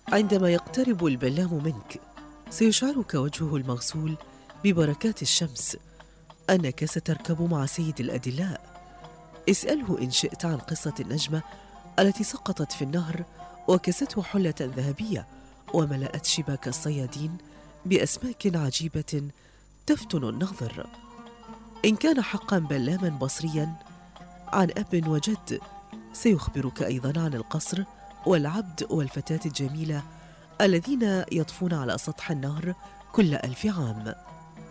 عندما يقترب البلام منك سيشعرك وجهه المغسول ببركات الشمس أنك ستركب مع سيد الأدلاء. اسأله إن شئت عن قصة النجمة التي سقطت في النهر وكسته حلة ذهبية وملأت شباك الصيادين بأسماك عجيبة تفتن النظر. إن كان حقا بلاما بصريا عن أب وجد سيخبرك أيضا عن القصر والعبد والفتاة الجميلة الذين يطفون على سطح النهر كل 1000 عام.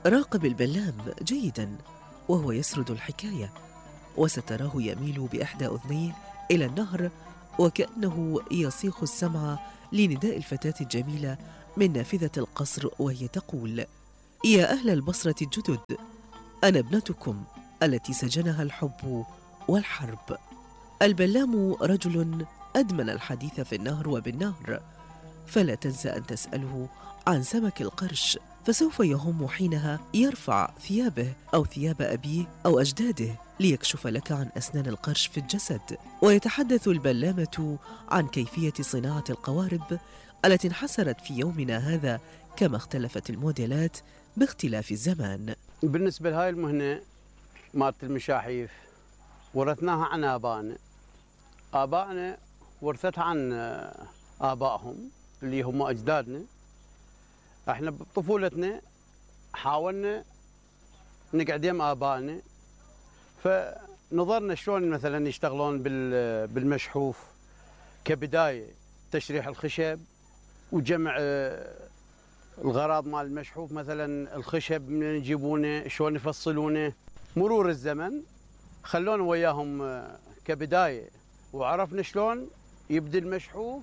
راقب البلام جيدا وهو يسرد الحكاية، وستراه يميل بإحدى أذنيه إلى النهر وكأنه يصيغ السمع لنداء الفتاة الجميلة من نافذة القصر وهي تقول: يا أهل البصرة الجدد، أنا ابنتكم التي سجنها الحب والحرب. البلام رجل أدمن الحديث في النهر وبالنهر، فلا تنسى أن تسأله عن سمك القرش، فسوف يهم حينها يرفع ثيابه أو ثياب أبيه أو أجداده ليكشف لك عن أسنان القرش في الجسد. ويتحدث البلامة عن كيفية صناعة القوارب التي انحسرت في يومنا هذا، كما اختلفت الموديلات باختلاف الزمان. بالنسبة لهاي المهنة مالت المشاحيف ورثناها عن آبائنا ورثتها عن آبائهم اللي هم أجدادنا. احنا بطفولتنا حاولنا نقعد يم آبائنا، فنظرنا شلون مثلا يشتغلون بالمشحوف كبداية، تشريح الخشب وجمع الغراض مال المشحوف، مثلا الخشب من يجيبونه شلون يفصلونه. مرور الزمن خلونا وياهم كبداية وعرفنا شلون يبدي المشحوف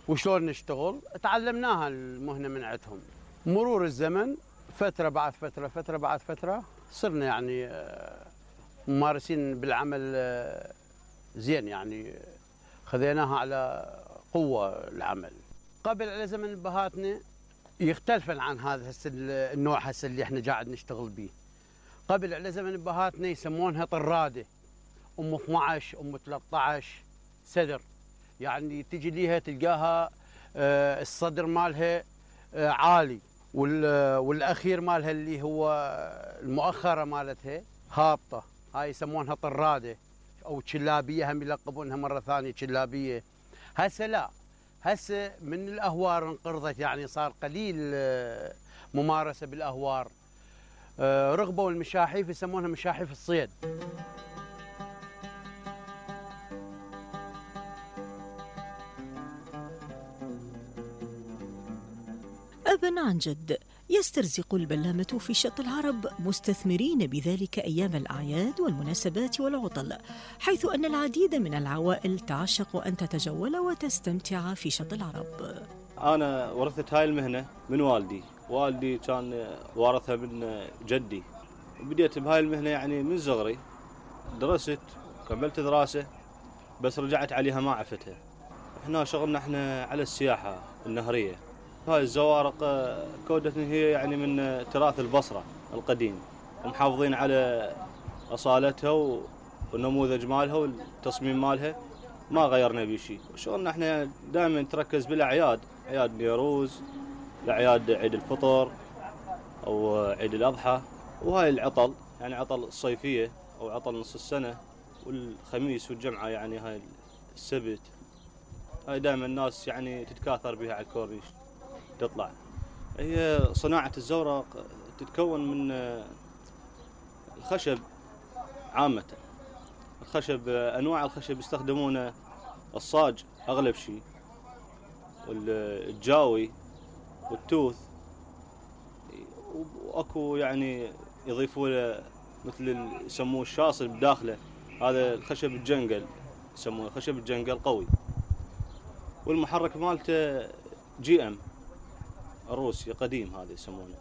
وشلون نشتغل، تعلمناها المهنة من عندهم. مرور الزمن فترة بعد فترة، فترة بعد فترة، صرنا يعني ممارسين بالعمل زين، يعني خذيناها على قوة العمل. قبل على زمن بهاتنا يختلف عن هذا النوع هسه اللي احنا قاعد نشتغل به. قبل على زمن بهاتنا يسمونها طرادة، ام 12 ام 13 صدر، يعني تجي ليها تلقاها الصدر مالها عالي والاخير مالها اللي هو المؤخره مالتها هابطه، هاي يسمونها طراده او شلابيه، هم يلقبونها مره ثانيه شلابيه. هسه لا، هسه من الاهوار انقرضت، يعني صار قليل ممارسه بالاهوار. رغبوا المشاحيف يسمونها مشاحيف الصيد. أبا عن جد يسترزق البلامة في شط العرب مستثمرين بذلك أيام الأعياد والمناسبات والعطل، حيث أن العديد من العوائل تعشق أن تتجول وتستمتع في شط العرب. أنا ورثت هاي المهنة من والدي كان وارثها من جدي. بديت بهاي المهنة يعني من صغري، درست كملت دراسة بس رجعت عليها ما عفتها. احنا شغلنا احنا على السياحة النهرية. هاي الزوارق كودتنا هي يعني من تراث البصرة القديم، ومحافظين على أصالتها والنموذج مالها والتصميم مالها، ما غيرنا بشيء. شغلنا احنا دائما نتركز بالأعياد، أعياد نيروز، الأعياد عيد الفطر أو عيد الأضحى، وهاي العطل يعني عطل الصيفية أو عطل نص السنة، والخميس والجمعة يعني هاي السبت. هاي دائما الناس يعني تتكاثر بها على الكورنيش تطلع. هي صناعة الزورق تتكون من الخشب عامة. الخشب أنواع الخشب يستخدمونه الصاج أغلب شيء، والجاوي والتوث، وأكو يعني يضيفوا له مثل يسموه الشاصل بداخله، هذا الخشب الجنقل يسمونه خشب الجنقل قوي. والمحرك مالته GM الروسي قديم، هذا يسمونه.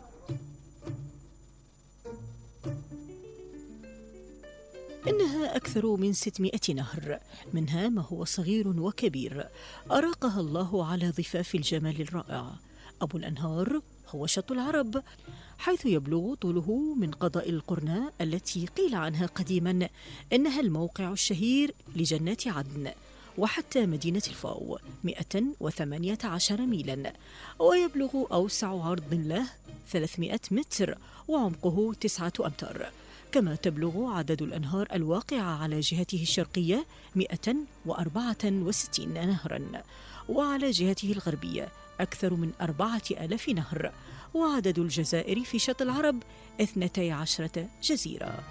إنها أكثر من 600 نهر، منها ما هو صغير وكبير، أراقها الله على ضفاف الجمال الرائع. أبو الأنهار هو شط العرب، حيث يبلغ طوله من قضاء القرناء التي قيل عنها قديما إنها الموقع الشهير لجنات عدن، وحتى مدينة الفاو 118 ميلا، ويبلغ أوسع عرض له 300 متر وعمقه 9 أمتار. كما تبلغ عدد الأنهار الواقعة على جهته الشرقية 164 نهرا، وعلى جهته الغربية أكثر من 4000 نهر، وعدد الجزائر في شط العرب 12 جزيرة.